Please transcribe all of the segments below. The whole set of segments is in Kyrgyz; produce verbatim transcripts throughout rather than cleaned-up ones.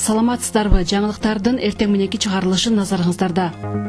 Саламатсыздарбы? Жаңылыктардын эртең мененки чыгарылышы назарыңыздарда.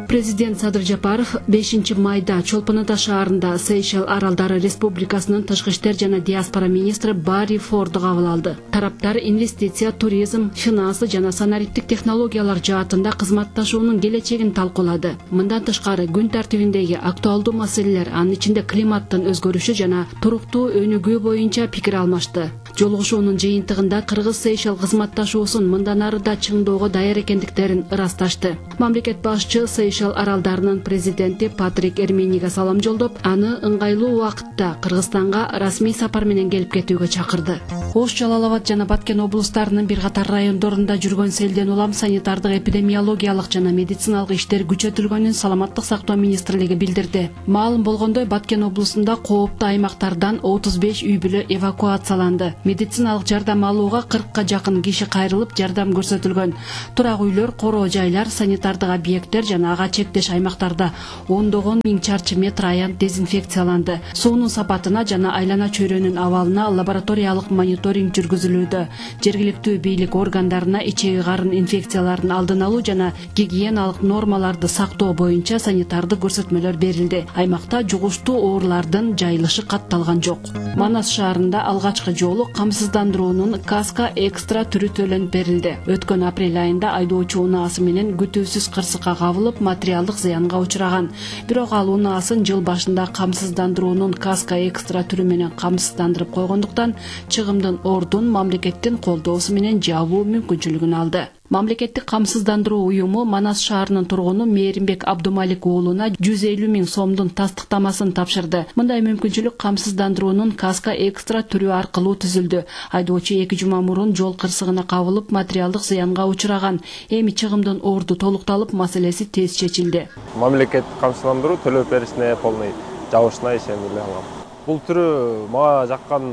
Президент Садыр Жапаров бешинчи майда Чолпон Ата шаарында Сейшел Аралдары Республикасынын тышкы иштер жана диаспора министри Барри Форду кабыл алды. Тараптар инвестиция, туризм, финансы жана санариптик технологиялар жаатында кызматташуунун келечегин талкуулады. Мындан тышкары күн тартибиндеги актуалдуу маселелер, анын ичинде климаттын өзгөрүшү жана туруктуу өнүгүү боюнча пикир алмашты. Жолугушуунун жыйынтыгында Кыргыз-Сейшел кызматташуусун мындан ары да чыңдоого даяр экендиктерин ырасташты. Мамлекет башчы Сейшел аралдарынын президенти Патрик Эрмениге салам жолдоп, аны ыңгайлуу убакытта Кыргызстанга расмий сапар менен келип кетүүгө чакырды. Ош, Жалал Абад жана Баткен облустарынын бир катар райондорунда жүргөн селден улам санитардык, эпидемиологиялык жана медициналык иштер күчөтүлгөнүн Саламаттык сактоо министрлиги билдирди. Маалым болгондой, Баткен облусунда кооптуу аймактардан отуз беш үй бүлө эвакуацияланды. Медициналык жардам алууга кыркка жакын киши кайрылып жардам көрсөтүлгөн. Турак үйлөр, короо жайлар, санитардык объекттер жана ага чектеш аймактарда ондогон миң чарчы метр аянт дезинфекцияланды. Суунун сапатына жана айлана чөйрөнүн абалына лабораториялык мониторинг жүргүзүлүүдө. Жергиликтүү бийлик органдарына ичеги карын инфекцияларын алдын алуу жана гигиеналык нормаларды сактоо боюнча санитардык көрсөтмөлөр берилди. Аймакта жугуштуу оорулардын жайылышы катталган жок. Манас шаарында алгачкы жолу камсыздандыруунун каска экстра түрү төлөнүп берилди. Өткөн апрель айында айдоочу унаасы менен күтүүсүз кырсыкка кабылып, материалдык зыянга учураган. Бирок ал унаасын жыл башында камсыздандыруунун каска экстра түрү менен камсыздандырып койгондуктан чыгымдын ордун мамлекеттин колдоосу менен жабуу мүмкүнчүлүгүн алды. Мамлекеттик камсыздандыруу уюму Манас шаарынын тургуну Мээримбек Абдумалик уулуна жүз элүү миң сомдун тастыктамасын тапшырды. Мындай мүмкүнчүлүк камсыздандыруунун каска экстра түрү аркылуу түзүлдү. Айдоочу эки жума мурун жол кырсыгына кабылып, материалдык зыянга учураган. Эми чыгымдын орду толукталып, маселеси тез чечилди. Мамлекеттик камсыздандыруу төлөп беришине полный жабышына ишенип эле алам. Бул түрү мага жаккан,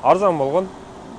арзан болгон.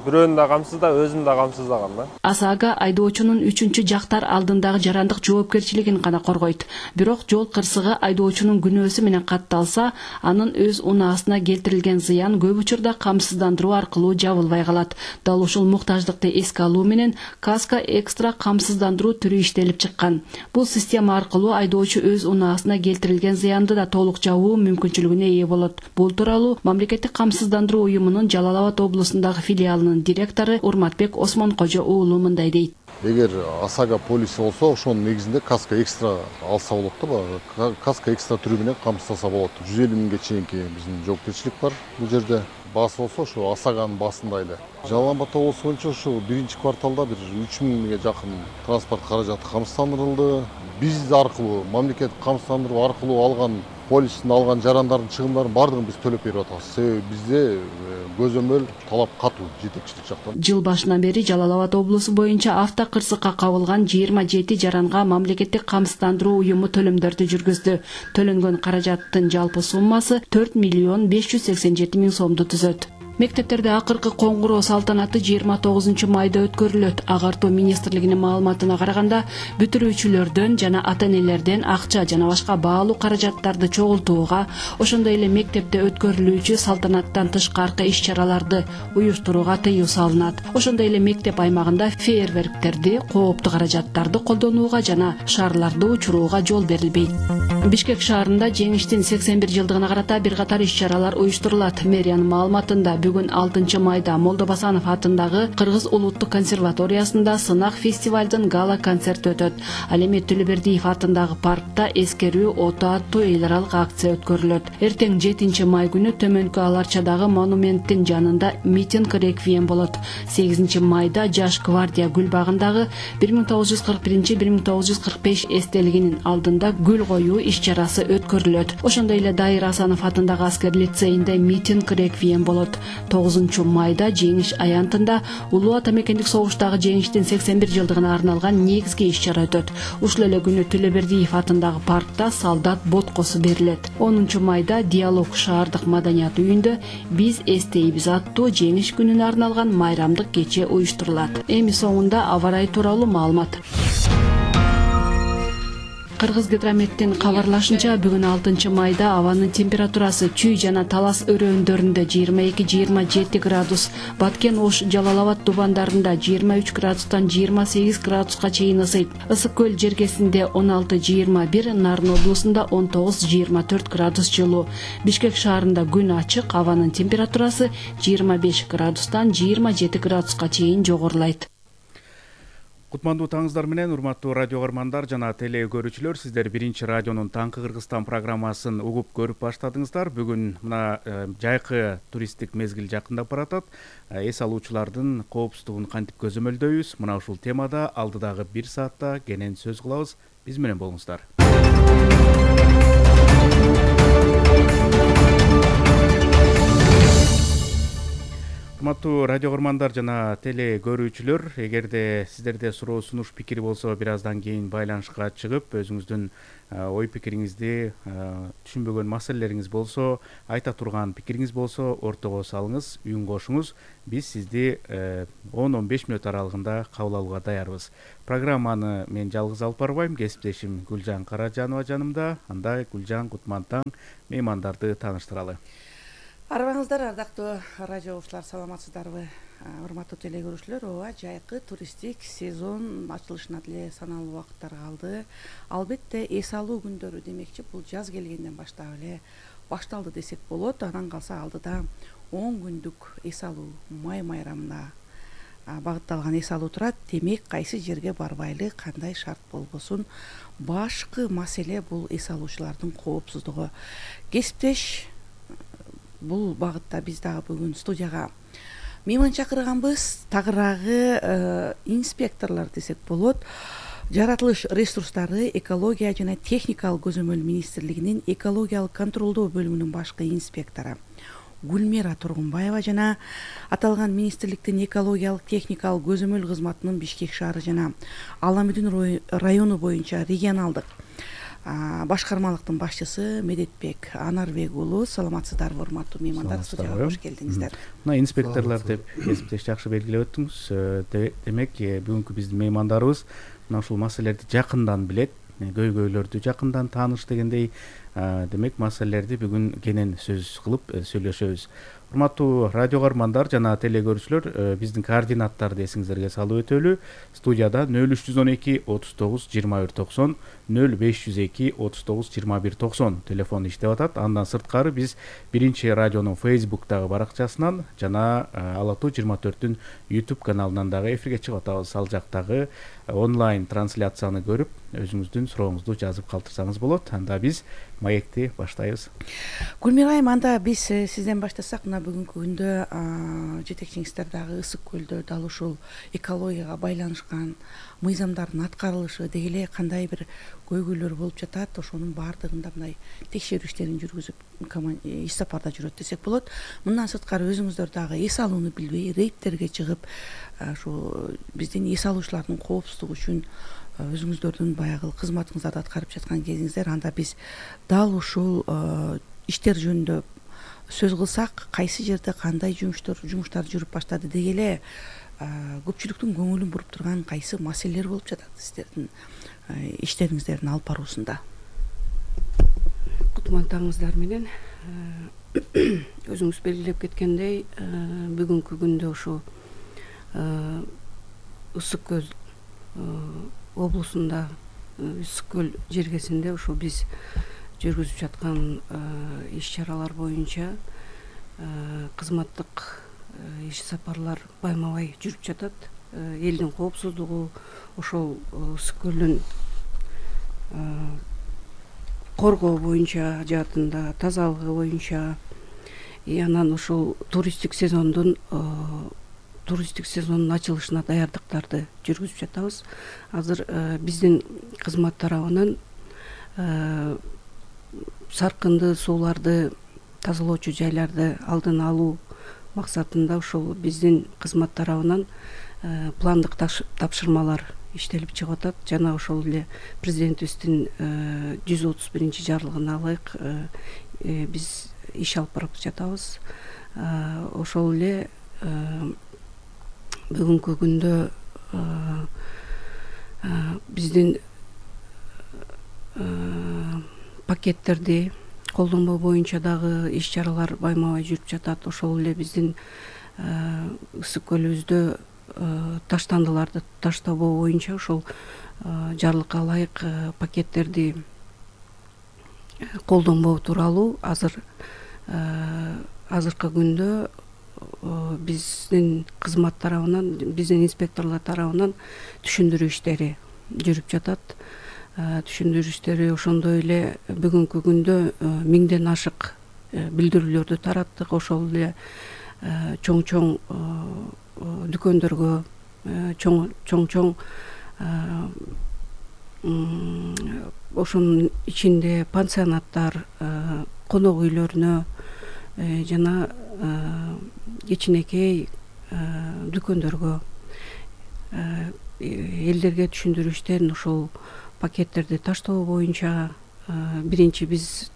Бирөөнү да камсызда, өзүн да камсыздаган да. Асага айдоочунун үчүнчү жактар алдындагы жарандык жоопкерчилигин гана коргойт. Бирок жол кырсыгы айдоочунун күнөөсү менен катталса, анын өз унаасына келтирилген зыян көп учурда камсыздандыруу аркылуу жабылбай калат. Дал ушул муктаждыкты эске алуу менен каска экстра камсыздандыруу түрү иштелип чыккан. Бул система аркылуу айдоочу өз унаасына келтирилген зыянды да толук жабуу мүмкүнчүлүгүнө ээ болот. Бул тууралуу Мамлекеттик камсыздандыруу уюмунун Жалал Абад облусундагы филиалынын директору Урматбек Осмонкожо уулу мындай дейт. Эгер ОСАГО полиси болсо, ошонун негизинде каска экстра алса болот да, каска экстра түрү менен камсыздаса болот. жүз элүү миңге чейинки биздин жоопкерчилик бар бул жерде. Баасы болсо ошо ОСАГОнун баасында эле. Жалал Абад облусу боюнча ушу биринчи кварталда бир үч миңге жакын транспорт каражаты камсыздандырылды. Биз аркылуу, мамлекеттик камсыздандыруу аркылуу алган полистин алган жарандардын чыгымдарын бардыгын биз төлөп берип атабыз. Себеби бизде көзөмөл талап катуу жетекчилик жактан. Жыл башынан бери Жалал Абад облусу боюнча авто кырсыкка кабылган жыйырма жети жаранга мамлекеттик камсыздандыруу уюму төлөмдөрдү жүргүздү. Төлөнгөн каражаттын жалпы суммасы төрт миллион беш жүз сексен жети миң сомду түзөт. Мектептерде акыркы коңгуроо салтанаты жыйырма тогузунчу майда өткөрүлөт. Агартуу министрлигинин маалыматына караганда, бүтүрүүчүлөрдөн жана ата-энелерден акча жана башка баалуу каражаттарды чогултууга, ошондой эле мектепте өткөрүлүүчү салтанаттан тышкаркы иш-чараларды уюштурууга тыюу салынат. Ошондой эле мектеп аймагында фейерверктерди, кооптуу каражаттарды колдонууга жана шарларды учурууга жол берилбейт. Бишкек шаарында жеңиштин сексен бир жылдыгына карата бир катар иш-чаралар уюштурулат. Мэриянын маалыматында бүгүн алтынчы майда Молдобасанов атындагы Кыргыз улуттук консерваториясында сынак фестивалдын гала концерти өтөт. Ал эми Төлөбердиев атындагы паркта эскерүү ото аттуу эл аралык акция өткөрүлөт. Эртең жетинчи май күнү Төмөнкү Аларчадагы монументтин жанында митинг реквием болот. сегизинчи майда Жаш гвардия гүл багындагы бир миң тогуз жүз кырк биринчи — бир миң тогуз жүз кырк беш эстелигинин алдында гүл коюу иш-чарасы өткөрүлөт. Ошондой эле Дайыр Асанов атындагы аскер лицейинде митинг реквием болот. тогузунчу майда жеңиш аянтында Улуу Ата мекендик согуштагы жеңиштин сексен бир жылдыгына арналган негизги иш-чара өтөт. Ушул эле күнү Төлөбердиев атындагы паркта солдат боткосу берилет. онунчу майда Диалог шаардык маданият үйүндө Биз эстейбиз аттуу жеңиш күнүнө арналган майрамдык кече уюштурулат. Эми соңунда аба ырайы тууралуу маалымат. Кыргыз гидрометтин кабарлашынча бүгүн алтынчы майда абанын температурасы Чүй жана Талас өрөөндөрүндө жыйырма эки жыйырма жети градус, Баткен, Ош, Жалал Абад тубандарында жыйырма үч градустан жыйырма сегиз градуска чейин ысыйт. Ысык көл жергесинде он алты жыйырма бир, Нарын облусунда он тогуз жыйырма төрт градус жылуу. Бишкек шаарында күн ачык, абанын температурасы жыйырма беш градустан жыйырма жети градуска чейин жогорулайт. Кутмандуу таңыңыздар менен, урматтуу радио көрмандар жана теле көрүүчүлөр, сиздер биринчи радионун Таңкы Кыргызстан программасын угуп көрүп баштадыңыздар. Бүгүн мына жайкы туристтик мезгил жакындап баратат. Эс алуучулардын коопсуздугун кантип көзөмөлдөйбүз? Мына ушул темада алдыдагы бир саатта кенен сөз кылабыз. Биз менен болуңуздар. Урматтуу радио көрмандар жана теле көрүүчүлөр, эгерде сиздерде суроо сунуш пикир болсо, бир аздан кийин байланышка чыгып, өзүңүздүн ой пикириңизди, түшүнбөгөн маселелериңиз болсо, айта турган пикириңиз болсо, ортого салыңыз, үн кошуңуз. Биз сизди он он беш мүнөт аралыгында кабыл алууга даярбыз. Программаны мен жалгыз алып барбайм, кесиптешим Гүлжан Каражанова жанымда. Анда Гүлжан, Кутмантаң меймандарды тааныштыралы. Арбаңыздар, ардактуу радио угуучулар, саламатсыздарбы? Урматтуу теле көрүүчүлөр, ооба, жайкы туристтик сезон ачылышына деле саналуу убакыттар калды. Албетте эс алуу күндөрү демекчи, бул жаз келгенден баштап эле башталды десек болот. Анан калса алдыда он күндүк эс алуу, май майрамына багытталган эс алуу турат. Демек, кайсы жерге барбайлы, кандай шарт болбосун, башкы маселе бул эс алуучулардын коопсуздугу. Кесиптеш бул багытта биз дагы бүгүн студияга мейман чакырганбыз. Тагыраагы инспекторлор десек болот. Жаратылыш ресурстары, экология жана техникалык көзөмөл министрлигинин экологиялык контролдоо бөлүмүнүн башкы инспектору Гүлмира Тургунбаева жана аталган министрликтин экологиялык техникалык көзөмөл кызматынын Бишкек шаары жана Ала-Мүдүн району боюнча регионалдык башкармалыктын башчысы Медетбек Анарбек уулу. Саламатсыздарбы, урматтуу меймандар, студияга кош келдиңиздер. Мына инспекторлор деп кесиптеш жакшы белгилеп өттүңүз. Демек, бүгүнкү биздин меймандарыбыз мына ушул маселелерди жакындан билет, көйгөйлөрдү жакындан тааныш дегендей. Демек, маселелерди бүгүн кенен сөз кылып сүйлөшөбүз. Урматтуу радио көрмандар жана теле көрүүчүлөр, биздин координаттарды эсиңиздерге салып өтөлү. Студияда нөл үч жүз он эки отуз тогуз жыйырма бир токсон, нөл беш жүз эки отуз тогуз жыйырма бир токсон телефон иштеп атат. Андан сырткары биз биринчи радионун Facebook'тагы баракчасынан жана Ала Тоо жыйырма төрттүн YouTube каналынан дагы эфирге чыгып атабыз. Ал жактагы онлайн трансляцияны көрүп, өзүңүздүн сурооңузду жазып калтырсаңыз болот. Анда биз маекти баштайбыз. Гүлмира айым, анда биз сизден баштасак, мына бүгүнкү күндө жетекчиңиздер дагы ысык көлдө дал ушул экологияга байланышкан мыйзамдардын аткарылышы деги эле кандай бир көйгөйлөр болуп жатат, ошонун баардыгында мындай текшерүү иштерин жүргүзүп иш сапарда жүрөт десек болот. Мындан сырткары өзүңүздөр дагы эс алууну билбей рейдтерге чыгып, ушу биздин эс алуучулардын коопсуздугу үчүн өзүңүздөрдүн баягы кызматыңыздарды аткарып жаткан кезиңиздер. Анда биз дал ушул иштер жөнүндө сөз кылсак, кайсы жерде кандай жумуштар жумуштар жүрүп баштады деги эле көпчүлүктүн көңүлүн буруп турган кайсы маселелер болуп жатат сиздердин иштериңиздердин алып баруусунда? Кутмантаңыздар менен, өзүңүз белгилеп кеткендей, бүгүнкү күндө ушу ысык көл облусунда, ысык көл жергесинде ушу биз жүргүзүп жаткан иш чаралар боюнча кызматтык иш сапарлар байма-бай жүрүп жатат. Элдин коопсуздугу, ошол ысык көлдүн коргоо боюнча жаатында, тазалыгы боюнча, анан ошол туристтик сезондун туристтик сезондун ачылышына даярдыктарды жүргүзүп жатабыз. Азыр биздин кызмат тарабынан саркынды сууларды, тазалоочу жайларды алдын алуу максатында ушул биздин кызмат тарабынан пландык тапшырмалар иштелип чыгып атат. Жана ошол эле президентибиздин жүз отуз биринчи жарлыгына ылайык биз иш алып барып жатабыз. Ошол эле бүгүнкү күндө биздин пакеттерди колдонбоо боюнча дагы иш чаралар байма бай жүрүп жатат. Ошол эле биздин ысык көлүбүздө таштандыларды таштабоо боюнча ошол жарлыкка ылайык пакеттерди колдонбоо тууралуу азыр азыркы күндө биздин кызмат тарабынан, биздин инспекторлор тарабынан түшүндүрүү иштери жүрүп жатат. Түшүндүрүү иштери ошондой эле бүгүнкү күндө миңден ашык билдирүүлөрдү тараттык. Ошол эле чоң чоң дүкөндөргө, чоң чоң чоң ошонун ичинде пансионаттар, конок үйлөрүнө жана кичинекей дүкөндөргө элдерге түшүндүрүү иштерин ошол пакеттерди таштоо боюнча биринчи биз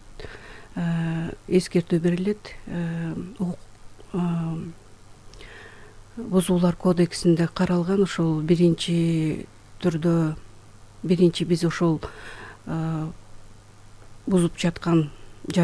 эскертүү берилет. Бузуулар кодексинде каралган ошол биринчи түрдө биринчи биз ошол бузуп жаткан